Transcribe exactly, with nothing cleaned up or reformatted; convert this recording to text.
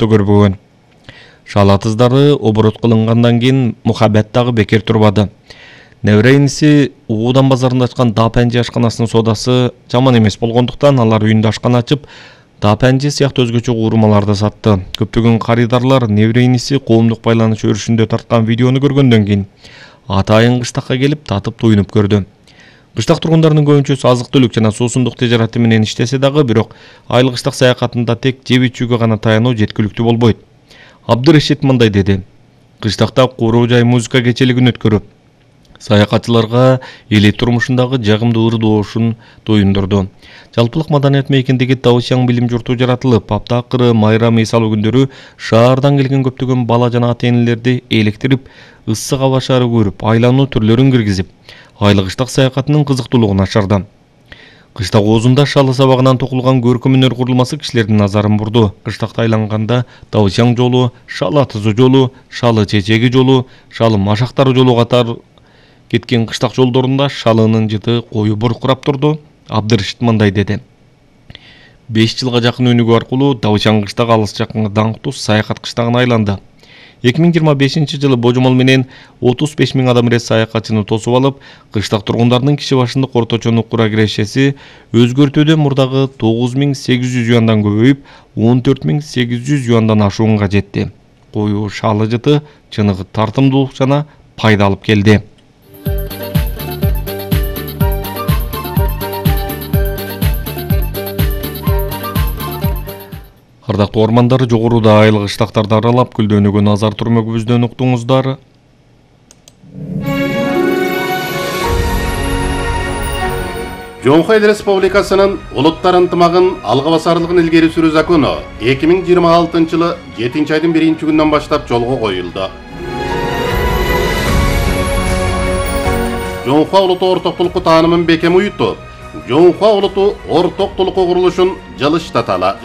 көрбөгөн. Шал атыздары оборот кылынгандан кийин мухаббат дагы бекер турбады. Небере иниси Уудан базарында ачкан Дапанжи ашканасынын соодасы жаман эмес болгондуктан алар үйүндө ашкана ачып, Дапанжи сыяктуу өзгөчө куурмаларды сатты. Көптөгөн карыдарлар небере иниси коомдук байланыш өрүшүндө тарткан видеону көргөндөн кийин атайын кыштакка келип татып туюнуп көрдү. Кыштак тургундарынын көбүнчөсү азык-түлүк жана суусундук тежараты менен иштесе дагы, бирок айыл кыштак саякатында тек жеп ичүүгө гана таянуу жеткиликтүү болбойт. Абдырешит мындай деди: кыштакта куруу жай музыка кечелигин өткөрүп, саякатчыларга эли турмушундагы жагымдуу ырдоошун тоюндурду. Жалпылык маданият мейкиндеги Таушяң билим журту жаратылып, апта акыры майрам эсалуу күндөрү шаардан келген көптөгөн бала жана ата-энелерди электирип, ыссык аба шаары көрүп, айлануу түрлөрүн киргизип, айыл кыштак саякатынын кызыктуулугун ашырды. Кыштак оозунда шалы сабагынан токулган көркөм өнөр курулмасы кишилердин назарын бурду. Кыштакта айланганда Таушяң жолу, шал атызы жолу, шалы чечеги жолу, шалы машактары жолу катар кеткен кыштак жолдорунда шалынын жыты кою буркурап турду. Абдырешит мындай деди: беш жылга жакын өнүгүү аркылуу Таушяң кыштагы алыс жакынга даңктуу саякат кыштагына айланды. эки миң жыйырма бешинчи жылы божомол менен отуз беш миң адам ирет саякатчыны тосуп алып, кыштак тургундарынын киши башындык орточо кура кирешеси өзгөртүүдө мурдагы тогуз миң сегиз жүз юандан көбөйүп, он төрт миң сегиз жүз юандан ашуунга жетти. Кою шалы жыты чыныгы тартымдуулук жана пайда алып келди. Ардактуу ормандар, жогоруда айыл кыштактарды аралап, гүлдөнүүгө назар турмөгүбүздөн уктуңуздар. Жоңхо Эл Республикасынын улуттар ынтымагын алга басарлыгын илгери сүрүү закону эки миң жыйырма алтынчы жылы жетинчи айдын биринчи күнүнөн баштап жолго коюлду. Жоңхо улуту ортоктулукку таанымын бекем уютуп, Жоңхо улуту ортоктулукку курулушун жылыштаталы.